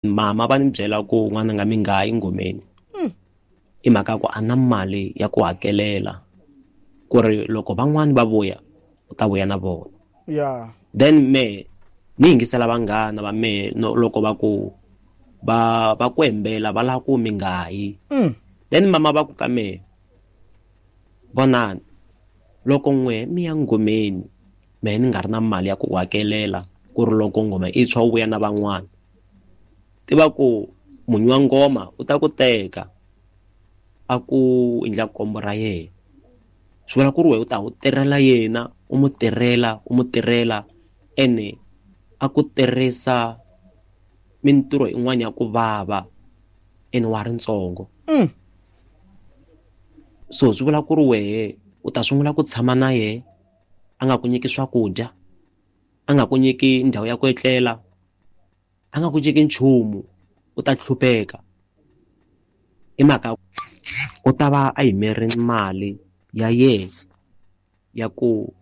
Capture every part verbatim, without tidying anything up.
Mama va ni byela ku n'wananga mi nga yi ngomeni i mhaka ya ku a na mali ya ku hakelela ku ri loko van'wani va vuya u ta vuya na vona. Ya. Then me ni yingisela vanghana va mehe no loko va ku va va ku hembela va lava ku mi nga yi. Mm. Then mama va ku ka mehe, vonani loko n'we mi ya ngomeni mehe ni nga ri na mali ya ku hakelela ku ri loko ngoma i tshwa u vuya na van'wana, tiva ku munyu wa ngoma u ta ku teka a ku endla kombo ra yena. Swi vula ku ri wena u ta u tirhela yena, u mu tirhela, u mu tirhela, ene a ku tirhisa mintirho yin'wana ya ku vava ene wa ha ri ntsongo. Mm. So swi vula ku ri wehe u ta sungula ku tshama na yehe, a nga ku nyiki swakudya, a nga ku nyiki ndhawu ya ku etlela, a nga ku nyiki nchumu, u ta hlupheka. I mhaka u ta va a yimerile mali ya yena ya ku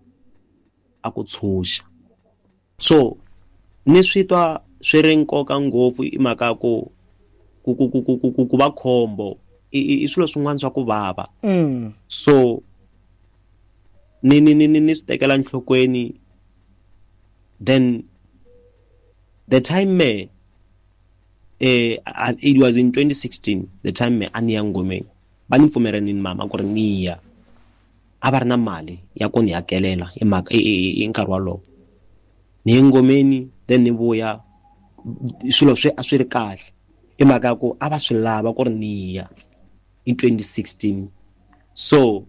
a ku tshunxa. So ni swi twa swi ri nkoka ngopfu i mhaka ya ku ku ku ku ku ku ku ku va khombo i i i swilo swin'wana swa ku vava. Mm. So ni ni ni ni ni swi tekela enhlokweni. Then the time me eh it was in twenty sixteen, the time me a ni ya ngomeni va ni pfumerile ni mama ku ri ni ya, a va ri na mali ya ku ni hakelela hi mhaka i i i nkarhi wolowo. Ni ye ngomeni then ni vuya swilo swi a swi ri kahle hi mhaka ya ku a va swi lava ku ri ni ya in twenty sixteen. So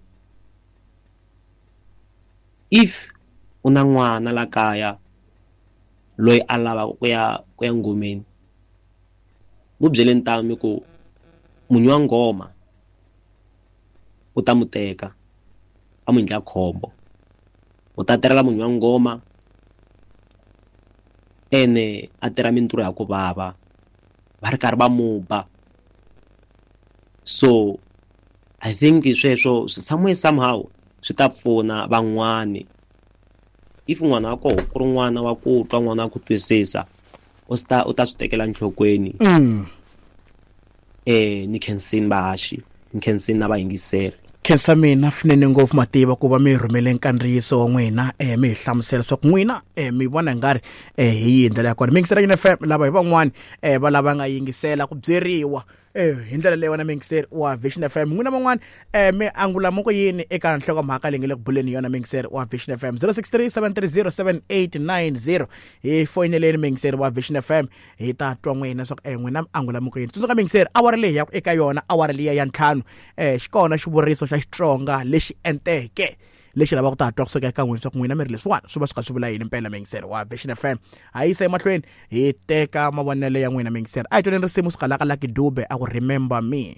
if u na n'wana la kaya loyi a lavaka ku ya ku ya ngomeni, mu byeleni tano mi ku munyu wa ngoma u ta mu teka a mu endla khombo, u ta tirhela munyu wa ngoma ene a tirha mintirho ya ku vava va ri karhi va mu ba. So I think sweswo somewhere somehow swi ta pfuna van'wani. If n'wana wa koho ku ri n'wana wa ku twa, n'wana wa ku twisisa, u sta u ta swi tekela enhlokweni. Mm. Eh ni khensini vahaxi, ni khensini na vayingiseri. Khensa mina swinene ngopfu Mativa ku va mi rhumele nkandziyiso wa n'wina, eh, mi hi hlamusela leswaku n'wina, eh, mi vona ingari, eh, hi yihi ndlela ya kona. Mi yingisela Yini F M, lava hi van'wani, eh, va lava nga yingisela ku byeriwa, eh, hi ndlela leyi wena muyingiseri wa Vision F M. N'wina van'wani, eh, mi angula mo ku yini eka nhlokomhaka leyi nga le ku buleni hi yona muyingiseri wa Vision F M? zero six three seven three zero seven eight nine zero. Hi foyineleni muyingiseri wa Vision F M, hi ta twa n'wina leswaku, eh, n'wina mi angula mo ku yini. Tsundzuka muyingiseri, awara leyi ya ku eka yona, awara liya ya ntlhanu, eh, xi kona xivuriso xa Xitsonga lexi enteke lexi lavaka ku ta twa kusuka eka n'wina leswaku n'wina mi ri leswiwani swi va swi kha swi vula yini mpela muyingiseri wa Vision F M. Ha yisa emahlweni hi teka mavonelo ya n'wina muyingiseri. A hi twaneni risimu suka la ka Lucky Dube a ku Remember Me.